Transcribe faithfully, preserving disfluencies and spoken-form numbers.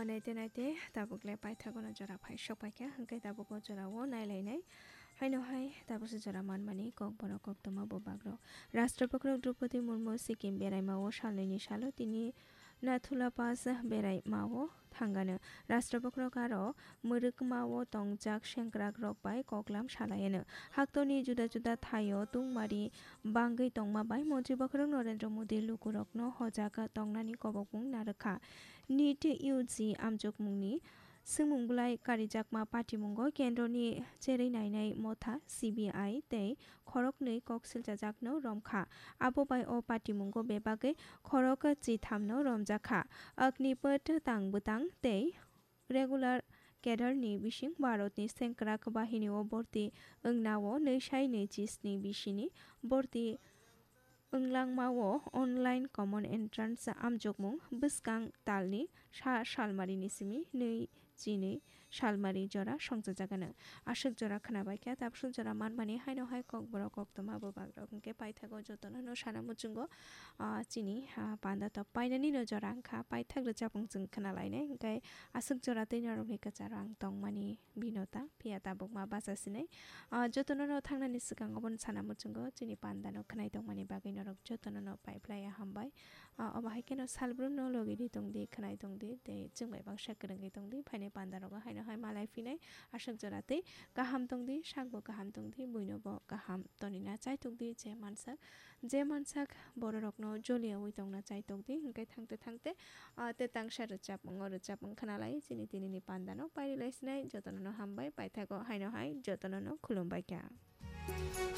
Naite naite tabuk le paithago no jora phai sok paikha, hwnkhe tabuk o jora o nailainai. Haino hai tabuk se jora manmani kokborok koktwma bubagrok. Rashtrapati Draupadi Murmu Sikkim beraima o salnwi ni salo tini Nathula Pass beraima o thangano. Rashtrapati aro mwrwkma o tongjak sengkrak rok bai koklam salaiano. Haktorni juda juda thaio tungmari bangwi tongma bai Montri Bokhorok Narendra Modi lukurokno hojak tongnani kobokmung narwkha. NEET U G amjokmungni swngmung bwlai karijakma patimungo kendroni cherwi nainai motha C B I tei khoroknwi kok silchajakno romkha. Abo bai o patimungo bebagwi khorok chithamno romjakha. Agnipath tang bwtang tei regular cadre ni bising Bharatni sengkrak bahinio borti wngnao nwi sai nwi chisni bisini borti wnglangmao online common entrance amjokmung bwskang talni sa salmarini simi nwi chinwi salmari jora songchajagano. Aswk jora khwnabaikha, tabswk jora manmani haino hai kokborok koktwma bubagrok hwnkhe paithago jotono no sana muchungo, ah, chini, ah, panda tok painani no jora wngkha, paithak rwchapmung chwng khwnalainai, hwnkhe aswk jora tei norokni kwcharo ang tongmani binota, phiya tabukma bacha sinai. Ah, jotono no thangnani swkang obono sana muchungo chini panda no khwnai tongmani bagwi norok jotono no paiphlaiya hambai. Ah, obo hai kheno salbrumno logi di tongdi, khwnai tongdi, tei chwng bai baksa kwrwngwi tongdi, phainai panda rogo haino hai malai phinai aswk jora tei kaham tongdi, sakbo kaham tongdi, buino bo kaham tonina chai tongdi, je mansak, je mansak bororokno joliyawi tongna chai tongdi, hwnkhe thangte thangte, ah, te tangsa rwchapmung o rwchapmung khwnalai chini tinini panda no pairi lai sinai, jotono no hambai paithago haino hai jotono no khulumbai kha.